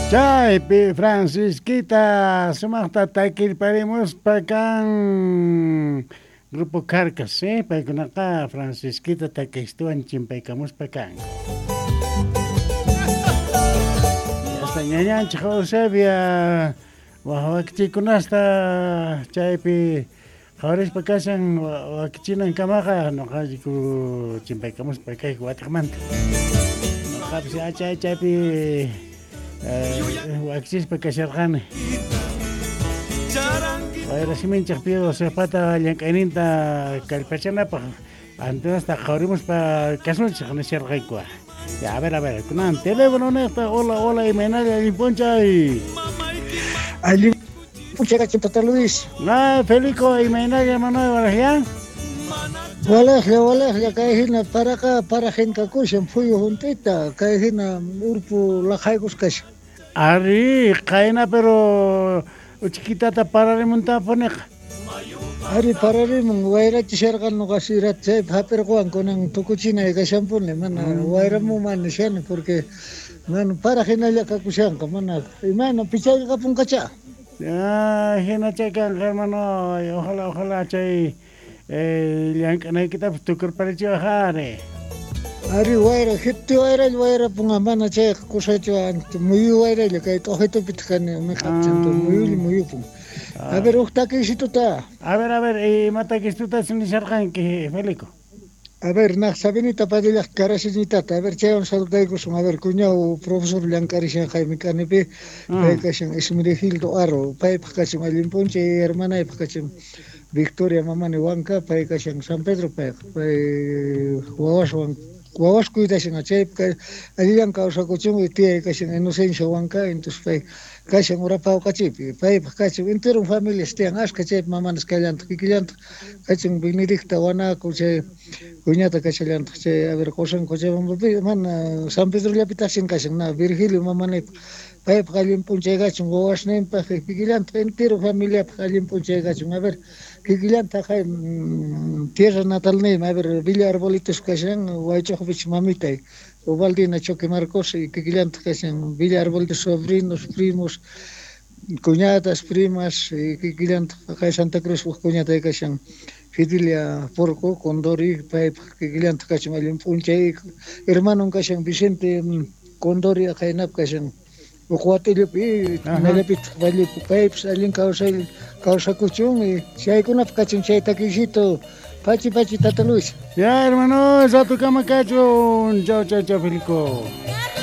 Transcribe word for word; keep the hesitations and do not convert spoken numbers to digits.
Chaypi Francisquita sumaqta takirparimuspa kan Grupo Carcas, eh? Paykunaqa Francisquita takistuwan chimpaykamuspa kan. Hasta ñañanchik Eusebia wakichikunasta chaypi qhawarispa kashan wakichinan kamaqa nuqayku chimpaykamuspa kayku watiqmanta. Nuqapis achay chaypi wakichispa kasharqani. Wayra siminchik pido sepata llank'ayninta kallpachanapaq antenasta qhawarimuspa kasunchik nisharqayku. Ya, a ver, a ver, kunan teléfono niqta, hola, hola, imaynalla allin p'unchay. Allin p'unchay kachun Tata Luis. Ah, Felico, imaynalla Manuel Baraján. Walaqlla, walaqlla, kay hina paraqa parajin kakushan phuyu junt'ita, kay hina urpu laqhaykus kashan. Ari, qayna pero uchikitata pararimuntapuniqa. Ari pararimun wayrachisharqan nuqa sirat chaypi hap'irquwan kunan tukuchinay kashanpuni mana wayramu mana shani porque mana para hinalla kakushanqa mana imayna pichayqapunqacha. Ah, hina chay kanqa hermano, ojalá ojalá chay eh, llank'anaykitapas tukurparichiwaq ari. Ari wayra hiti wayralla wayrapunqa mana chayqa kusachu muyu wayralla kay t'uqitupitaq kani miqapchantu muyulla muyupun. A ver, huk takisituta. A ver, a ver, ima takisituta nisharqanki, Felico? A ver, naq Sabinita Padillaq karasiñitata, a ver, chaywan saludaykusun, a ver, cuñao profesor llank'arishan Jaime Kanipi, pay kashan Esmerigildo Aro, paypaq kachin allin p'unchay, hermanaypaq kachin Victoria Mamani Huanca, pay kashan San Pedro payqa, pay wawaswan wawas cuidashan chaypi allillan kawsakuchun tiyay kashan Inocencia Huanca, entonces pay kashan Urapawqachipi, paypaq kachin entero familias tiyan ashka chaypi mamanas kallantaq kikillantaq kachin Benedicta Huanaco chay cuñata kachallantaq chay a ver qusan Cochabambapi mana San Pedrollapitaqshin kashan na Virgilio mamanaypaq paypaq allin p'unchay kachun wawasninpaq kikillantaq entero familiapaq allin p'unchay kachun a ver kikillantaq hay tierra natalniymi a ver Villa Arbolitos kashan Waych'uqpich mamitay Ubaldina Choque Marcos y kikillantaq kashan Villa Arbolitos sobrinos, primos, cuñadas, primas y kikillantaq kay Santa Cruz cuñatay kashan Fidelia Porco, Condori, paypaq kikillantaq kachin allin p'unchay hermanon kashan Vicente Condori qaynap kashan Uqwatillupi, nallapitaq vallepi paypis allin kawsay kawsakuchun y chaykunapaq kachin chay takisito pachi pachi Tata Luis. Ya hermano, ratukama kachun. Chau chau chau Felico.